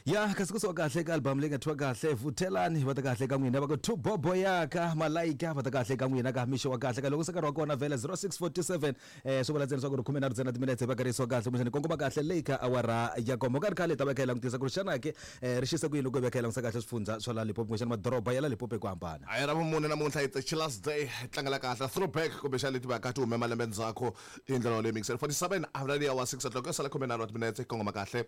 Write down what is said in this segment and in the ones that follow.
Ya kasi kusuka kahle ka album leyi nga thyiwa kahle Vuthelani, va ta kahle ka n'wina va ku two bobo yaka malayika, va ta kahle ka n'wina ka mixo wa kahle ka loko se nkarhi wa kona vhele 0647 swi vula ntsena leswaku ri khume nharhu ntsena timinetse va karhi yisiwa kahle kumbexana kongoma kahle leyi ka awara ya komba ka ri khale hi ta va hi kha hi langutisa ku ri xana ke ri xise ku yini loko hi va hi kha hi langutisa kahle swifundzha swa la Limpopo kumbexana madoroba ya la Limpopo hi ku hambana. A hi ra vumune namuntlha, it's a chillers day, hi tlangela kahle throwback kumbexana leti va ka ti hume malembe ndzhaku hi ndlela yoleyo mixer 47 awara liya wa 6 o'clock yo sala 13 wa timinetse kongoma kahle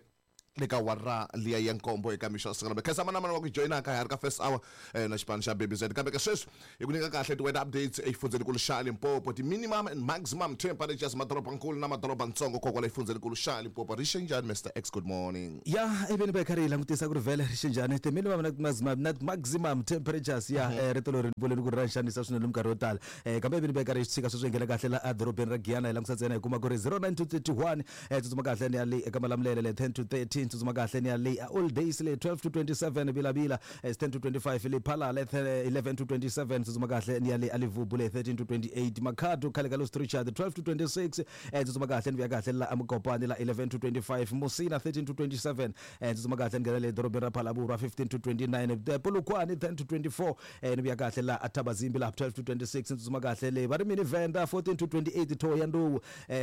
le ka awara liya ya nkombo eka mixo wa siku namuntlha. Khensa manamana wa ku joyinaka ha ri ka first hour na xipano xa Baby Z. Kambe ke sweswi hi ku nyika kahle ti-weather updates exifundzhenikulu xa Limpopo, ti-minimum and maximum temperatures madorobankulu na madorobantsongo kokwala exifundzhenikulu xa Limpopo. Ri xe njhani Mister X? Good morning. Ya ivi ni va hi karhi hi langutisa ku ri vhele ri xe njhani ti-minimum na maximum na maximum temperatures ya rito leri ni vuleni ku ri ra ni xanisa swinene minkarhi yo tala kambe ivi ni va hi karhi hi swi tshika sweswi hi nghena kahle la edorobeni ra Giyani hi langutisa ntsena hi kuma ku ri 09 to 31 Tsutsuma kahle ni ya le eka Malamulele le 10 to 13, tsutsuma kahle ni ya le a Old Days le 12 to 27, Vilavila 10 to 25, le Phalala 11 to 27, tsutsuma kahle ni ya le a Livubu le 13 to 28, Makhado khale ka Los Richard 12 to 26, tsutsuma kahle ni vuya kahle la eMokopane la 11 to 25, Musina 13 to 27, tsutsuma kahle ni nghena le dorobeni ra Phalaborwa 15 to 29, Polokwane 10 to 24, Ni vuya kahle la a Thabazimbi la 12 to 26, ni tsutsuma kahle le va ri mini Venda 14 to 28, Thohoyandou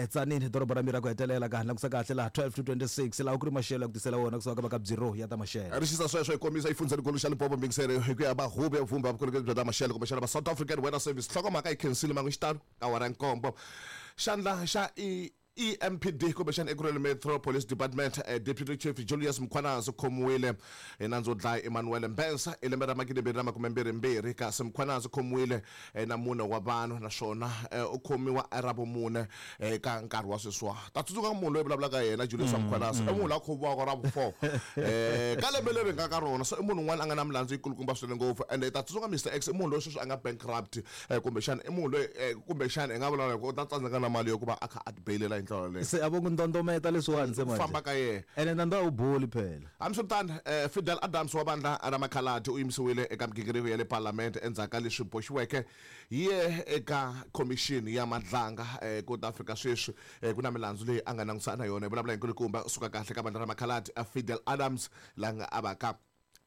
Tzaneen doroba ra mira ku hetelela ka langusa kahle la 12 to 26 laha ku ri maxelo ya ku tisela wona kusuka ka va ka Bureau ya ta maxelo. Ri xisa sweswo hi komisa exifundzhenikulu xa Limpopo Mbingiseri hi ku ya va huvo ya vupfhumba vukorhokeri bya ta maxelo kumbexana va South African Weather Service. Nhlokomhaka yi khensile mangu xitalo ka awara ya nkombo. Xandla xa EMPD kumbexana Ekurhuleni Metro Police Department Deputy Chief Julius Mkhwanazi u khomiwile hi nandzu wo dlaya Emmanuel Mbense hi lembe ra magidimbirhi na makumembirhi-mbirhi kasi Mkhwanazi u khomiwile na mune wa vanhu naswona u khomiwa ravumune eka nkarhi wa sweswiwa. Ta tsundzuka munhu loyi vulavulaka hi yena Julius Mkhwanazi i munhu loyi a khomiwaka ra vu 4 ka lembe leri hi nga ka rona so i munhu un'wana a nga na milandzu yikulukumba swinene ngopfu ende ta tsundzuka Mister X i munhu loyi sweswi a nga bankrupt Kumbexana i munhu loyi kumbexana hi nga vulavula hi ku u ta tsandzeka na mali yo ku va a kha a ti beyilela hi ndlela yoleyo. Se a vo n'wi ndondometa leswiwani se Ku manje. famba ka yena. Ene nandzu a wu boli phela. Hambiswiritano, Fidel Adams wa vandla ra Makhaladi u yimisiwile eka migingiriko ya le Palamende endzhaku ka leswi boxiweke hi ye eka khomixini ya Madlanga ku ta fika sweswi ku na milandzu leyi a nga langutisana na yona. Hi vulavula hi nkulukumba suka kahle ka vandla ra Makhaladi Fidel Adams la nga a va ka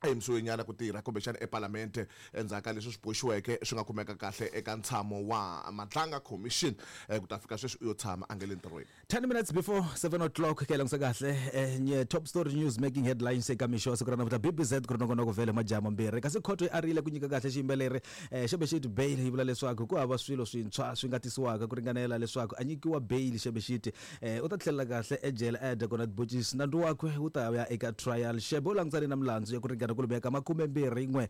a yimisiwe nyana ku tirha kumbexana ePalamente endzhaku ka leswi swi boxiweke swi nga kumeka kahle eka ntshamo wa Madlanga Commission. Ku ta fika sweswi u yo tshama a nge le ntirhweni. 10 minutes before 7 o'clock ke langutisa kahle top story news making headlines eka mixo wa siku ra namuntlha BBZ ku ri nongonoko vhele majaha mambirhi kasi khoto yi arile ku nyika kahle xiyimbeleri Xebexiti bail yi vula leswaku ku hava swilo swintshwa swi nga tisiwaka ku ringanela leswaku a nyikiwa bail Xebexiti U ta tlhelela kahle ejele a ya dya kona tibocisi. Nandzu wakwe wu ta ya eka trial. Shebe u langutane na milandzu ya ku ringana kwalomuya ka makumembirhi-n'we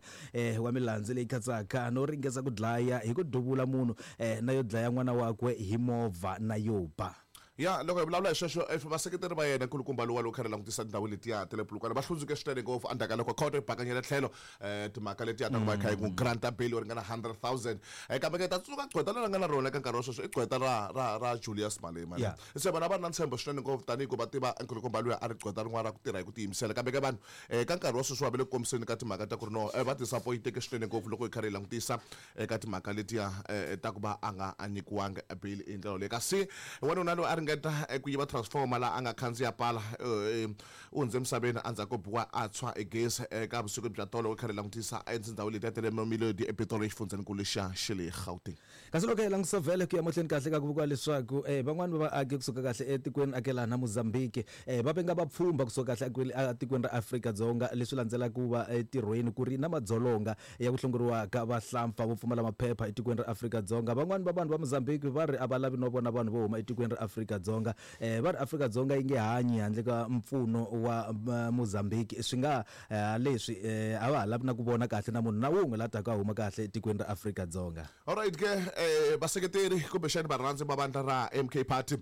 wa milandzu leyi katsaka no ringesa ku dlaya hi ku duvula munhu na yo dlaya n'wana wakwe hi movha na yo ba. Ya, loko hi vulavula hi sweswo, if vaseketeri va yena nkulukumba luwa loko kha ri langutisa tindhawu letiya ta le Polokwane va hlundzuke swinene ngopfu endzhaku ka loko khoto yi bakanyele tlhelo timhaka letiya ta ku va yi kha yi n'wi grant-a bail yo ringana 100,000. Kambe ke ta tsundzuka gqweta leri a nga na rona eka nkarhi wa sweswi i gqweta ra ra ra Julius Malema. Se vanhu a va ri na ntshembo swinene ngopfu tanihi ku va tiva nkulukumba luya a ri gqweta rin'wana ra ku tirha hi ku tiyimisela. Kambe ke vanhu ka nkarhi wa sweswiwa va le ku kombiseni ka timhaka ta ku ri no va disappoint-eke swinene ngopfu loko hi karhi hi langutisa eka timhaka letiya ta ku va a nga a nyikiwangi bail hi ndlela yoleyo. Kasi wanuna loyi a ringeta ku yiva transformer laha a nga khandziya pala u hundze emisaveni endzhaku ko biwa a tshwa hi gezi eka vusiku bya tolo hi karhi hi langutisa etindhawini letiya ta le Mamelodi ePitori exifundzhenikulu xa xa le Gauteng. Kasi loko hi langutisa vhele ku ya mahlweni kahle ka ku vikiwa leswaku van'wani va vaaki kusuka kahle etikweni akelana Mozambique va venga vapfhumba kusuka kahle etikweni ra Afrika-Dzonga leswi landzelaka ku va etirhweni ku ri na madzolonga ya ku hlongoriwa ka vahlampfa vo pfumala maphepha etikweni ra Afrika-Dzonga. Van'wani va vanhu va Mozambique va ri a va lavi no vona vanhu vo huma etikweni ra Afrika-Dzonga. Va ri Afrika-Dzonga yi nge hanyi handle ka mpfuno wa Mozambique. Swi nga ha leswi a va ha lavi na ku vona kahle na munhu na wun'we la taka a huma kahle etikweni ra Afrika-Dzonga. Alright ke vaseketeri kumbexani varhandzi va vandla ra MK Party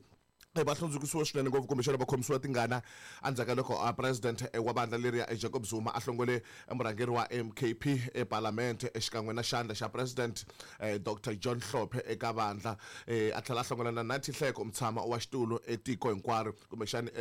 va hlundzukisiwe swinene ngopfu kumbexana va khomisiwa tingana endzhaku ka loko president wa vandla leriya Jacob Zuma a hlongole murhangeri wa MKP ePalamente xikan'we na xandla xa president Doctor John Hlophe eka vandla a tlhela a hlongola na Nathi Nhleko mutshama wa xitulu etiko hinkwaro kumbexana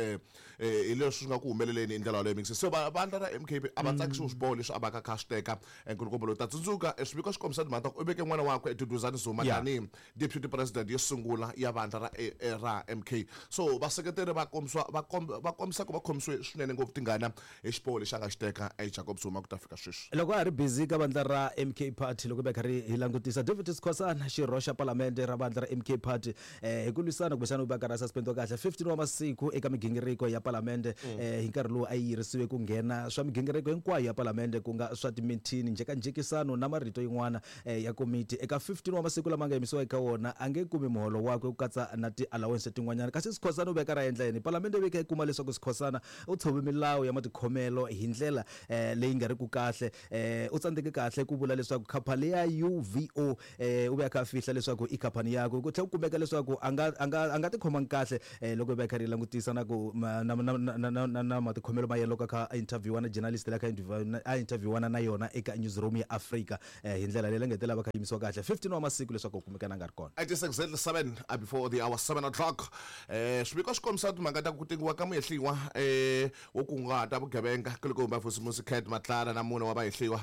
hi leswi swi nga ku humeleleni hi ndlela yoleyo mixi se vandla ra MKP a va tsakisiwi swiboho leswi a va ka kha swi teka nkulukumba loyi ta tsundzuka swiviko swi kombisa timhaka ta ku u veke n'wana wakwe Duduzane Zuma tanihi deputy president yo sungula ya vandla ra ra MK. MK so vaseketeri va kombisiwa va kombisa ku va khomisiwe swinene ngopfu tingana hi xiboho lexi a nga xi teka Jacob Zuma ku ta fika sweswi. Loko a ha ri busy ka vandla ra MK Party loko hi karhi hi langutisa David Skhosana xirho xa palamende ra vandla ra MK Party hi ku lwisana kumbexana u va karhi a suspendiwa kahle 15 wa masiku eka migingiriko ya palamende hi nkarhi lowu a yi yirisiwe ku nghena swa migingiriko hinkwayo ya palamende ku nga swa timithini njhekanjhekisano na marito yin'wana ya komiti eka 15 wa masiku lama nga yimisiwa eka wona a nge kumi muholo wakwe ku katsa na ti-allowance tin'wanyana. Kasi Skhosana u ve karhi a endla yini? Palamende yi ve kha yi kuma leswaku Skhosana u tshove milawu ya matikhomelo hi ndlela leyi nga ri ku kahle. U tsandzeke kahle ku vula leswaku khampani ya UVO u ve a kha a fihla leswaku i khampani yakwe. Ku tlhela ku kumeka leswaku a nga a nga a nga tikhomangi kahle loko hi va hi karhi hi langutisa na ku na na na na na na matikhomelo ma yena loko a kha a interview-a na journalist leyi a kha a interview-ana na yona eka newsroom ya Afrika hi ndlela leyi la nga hetelela va kha yimisiwa kahle 15 wa masiku leswaku u kumeka na nga ri kona. It is exactly 7 before the hour 7 o'clock. Swiviko swi kombisa timhaka ta ku tengiwa ka muhehliwa wo kunguhata vugevenga kulukumba Vusimusi Cat Matlala na mune wa vahehliwa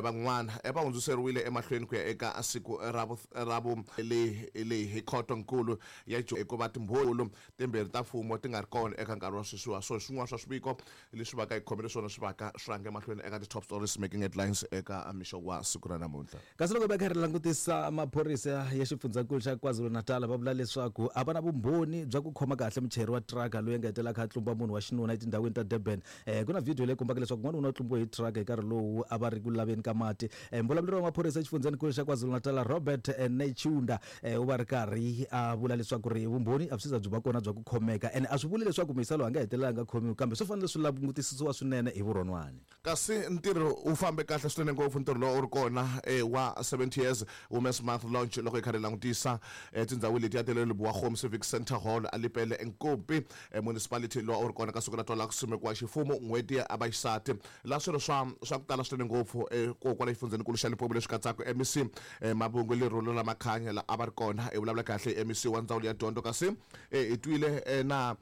van'wana va hundziseriwile emahlweni ku ya eka siku ra vu ra vu leyi leyi hi khoto-nkulu ya hikuva timbhoni timbirhi ta mfumo ti nga ri kona eka nkarhi wa sweswiwa. So swin'wana swa swiviko leswi vaka hi khomele swona swi vaka swi rhange emahlweni eka ti-top stories making headlines eka mixo wa siku ra namuntlha. Kasi loko va karhi langutisa maphorisa ya xifundzankulu xa KwaZulu-Natal va vula leswaku a va na vumbhoni bya ku khoma kahle muchayeri wa tiraka loyi a nga hetelela a kha a tlumba munhu wa xinuna etindhawini ta Durban. Ku na vhidiyo leyi kombaka leswaku n'wanuna u tlumbiwe hi tiraka hi nkarhi lowu a va ri ku laveni ka mati. Muvulavuleri wa maphorisa exifundzhenikulu xa KwaZulu-Natal Robert Netshiunda u va ri karhi a vula leswaku ri vumbhoni a byi se za byi va kona bya ku khomeka ene a swi vuli leswaku muyisa loyi a nga hetelela a nga khomiwi kambe swi fanele swi langutisisiwa swinene hi vurhonwani. Kasi ntirho wu fambe kahle swinene ngopfu ntirho lowu a wu ri kona wa 70 Years Women's Month Launch loko hi karhi hi langutisa tindhawu letiya ta le Lebowa Civic Centre Hall a Lepelle Nkumpi Municipality lowu a wu ri kona ka siku ra twala ku simekiwa ximfumo n'hweti ya vaxisati laha swirho swa swa ku tala swinene ngopfu ko kwala xifundzenikulu xa Limpopo leswi katsaka MEC Mabungu Lerolo ra Makhanya la a va ri kona hi vulavula kahle hi MEC wa ndzawulo ya dyondzo kasi hi twile na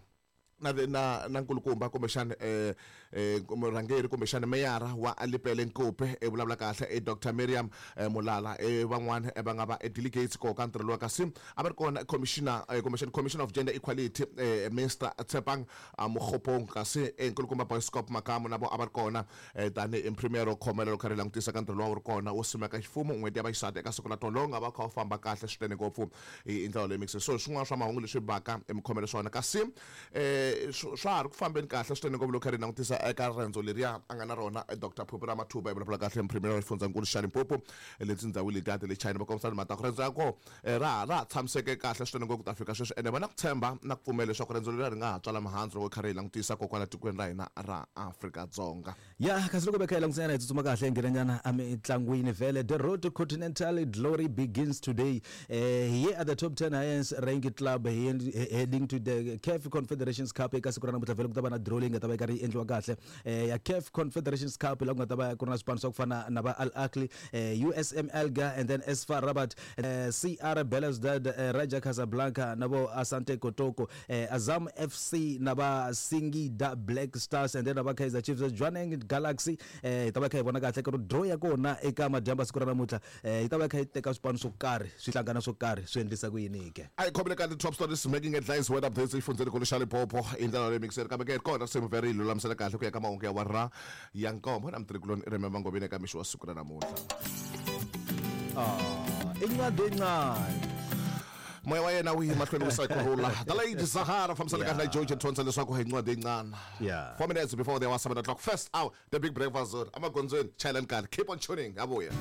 na na na nkulukumba kumbexana murhangeri kumbexana meyara wa Lepelle Nkupe i vulavula kahle i Dr Miriam Mulala i van'wana va nga va delegates koho ka ntirho lowa kasi a va ri kona commissioner kumbexana commissioner of gender equality Mister Tshepang Mokgopong kasi nkulukumba Boyscop Makamu na vo a va ri kona tanihi premier ro khomela loko kha ri langutisa ka ntirho lowa wu ri kona wo simeka ximfumo n'hweti ya vaxisati eka siku ra tolo lowu nga va kha wu famba kahle swinene ngopfu hi ndlela leyi mixing so swin'wana swa mahungu leswi baka emikhomelo swona kasi swa ha ri ku fambeni kahle swinene ngopfu loko kha ri langutisa eka riendzo leriya a nga na rona Dr Phuphu Ramathuba hi vulavula kahle premier wa xifundzankulu xa Limpopo le tindhawini letiya ta le China va kombisa timhaka ta ku riendzo ya koho ra ra ha tshamiseke kahle swinene ngopfu ku ta fika sweswi ene va na ku tshemba na ku pfumela leswaku riendzo leriya ri nga ha tswala mihandzu loko kha ri hi langutisa ko kwala tikweni ra hina ra Afrika-Dzonga. Ya kasi loko veka hi langutisa nyana hi tsutsuma kahle hi nghena nyana emitlangwini vhele. The road to continental glory begins today. Here at the top 10 highest ranked club heading to the CAF Confederations Cup eka siku ra namuntlha vhele ku ta va na draw leyi nga ta va yi karhi yi endliwa kahle ya CAF Confederations Cup laha ku nga ta va ku ri na swipano swa ku fana na va Al Ahly, USM Alger and then SFAR Rabat, CR Belouizdad, Raja Casablanca na vo Asante Kotoko, Azam FC na va Singida Black Stars and then na va Kaizer Chiefs, Jwaneng Galaxy. Hi ta va kha hi vona kahle ku ri draw ya kona eka madyambu ya siku ra namuntlha yi ta va kha yi teka swipano swo karhi swi hlangana swo karhi swi endlisa ku yini ke. A hi khomile ka ti-top stories making headlines weather updates exifundzhenikulu xa Limpopo hi ndlela leyi mixeri kambe ke kona risimu vhele yi lulamisela kahle ku ya ka mahungu ya awara ya nkombo na mutirhikuloni i Remember Ngobeni eka mixo wa siku ra namuntlha. Incwadi encane. Moya wa yena wu yi mahlweni wu sa kurhula. The Lady Zahara fambisana kahle na George Thonsa leswaku hi ncwadi yincane. 4 minutes before the hour 7 o'clock. First hour, the big breakfast zone. Amagondzweni, chayelani kahle. Keep on tuning. Abuya.